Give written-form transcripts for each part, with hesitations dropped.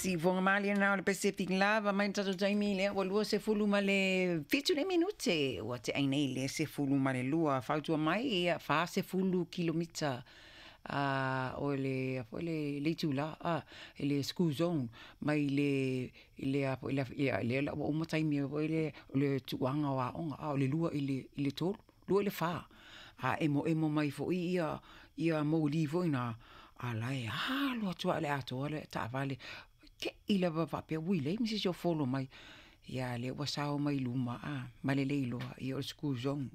Siufofoga malie lena o le Pacific Love mai le tatou taimi lea ua 27 nei minute ua tea ai nei le 12. Fautua mai ia 40 kilomita o le foi le le itula i le school zone mai le i le a foi le ia lea la ua uma taimi foi le o le tuuaga o aoga o le 2 i le 3, 2 i le 4. A emoemo mai foi ia moli foi na, a la e alu atu lava i le atoa le taavale, te i lava faapea ui leai ma se isi o follow mai. Ia a o lea ua sao mai luma ma le le iloa o le school zone.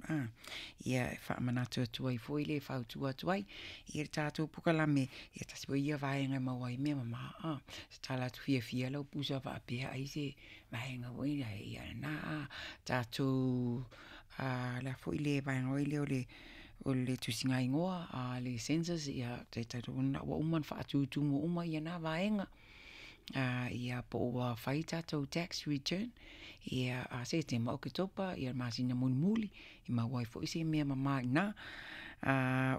Ia e faamanatu atu ai foi le fautua atu ai i le tatou polokalame, ia tasi foi ia vaega e maua ai mea mama. Se tala atu fiafia lau pusa faapea ai se vaega foi ia lena tatou le a foi le vaega foi lea o le tusiga igoa a le census, ia ua uma ona faatutumu uma ia na vaega. Ia po ua fai tatou tax return ia Setema, Oketopa, ia le masina mulimuli e maua ai foi se mea mama i ina.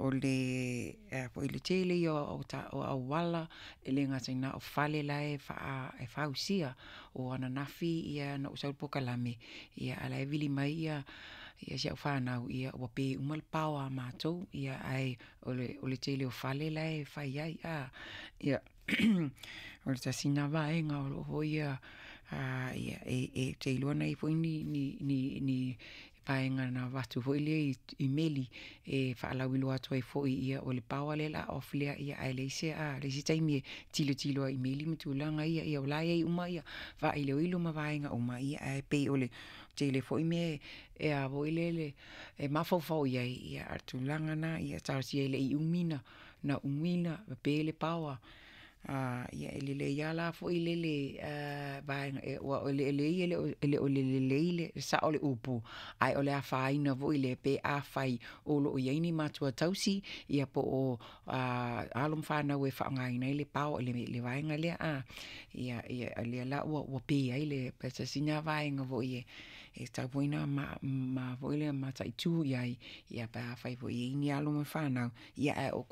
O le foi le tele ia o auala, e le gata i lena o fale la e fausia. O ananafi na ou sau i le polokalame, ia a o la e vili mai si au fanau, ua pe uma le paoa a matou, ae o le tele o fale la e fai ai. Ia o le tasi lena vaega o lo o foi ia, ou te iloa na i ai foi ni vaega na avatu foi lea i meli e faalauiloa atu ai foi, ia o le paoa lea o le a off lea, ae leai se leai se taimi e tilotilo ai i meli ma tulaga ia. Ia o la e i ai uma faailoilo ma vaega uma, ae pei o le tele foi mea e a foi lele e mafaufau i ai, ia a o le tulaga lena, ia talosia e le i umi ona umi ona pe le paoa. Ia e lelei lava la foi lele vaega aua o eleele ia e le o le lelei le sao o le upu, ae o le afaina foi lea pe afai o lo o i ai ni matua tausi ia po o alo ma fanau e faaaogaina ai le paoa le vaega lea. Ia lea la ua pe ai le tasi lena vaega foi e tatau foi ona mataitu i ai, ia pe afai foi e i ai ni alo ma fanau, ae o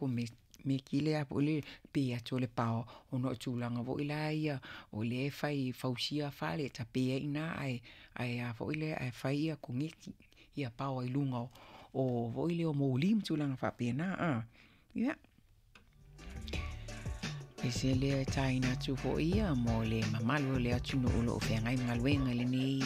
Komiti lea foi le pe atu o le paoa, ona o tulaga foi la ia o lea e fai e fausia fale, e tape ai i ina ae a foi lea ae fai ia koneti ia paoa i luga o foi lea o moli ma tulaga faapena. Ia. Pese lea e taina atu foi ia mo le mamalu o le atunuu o lo o feagai ma galuega i lenei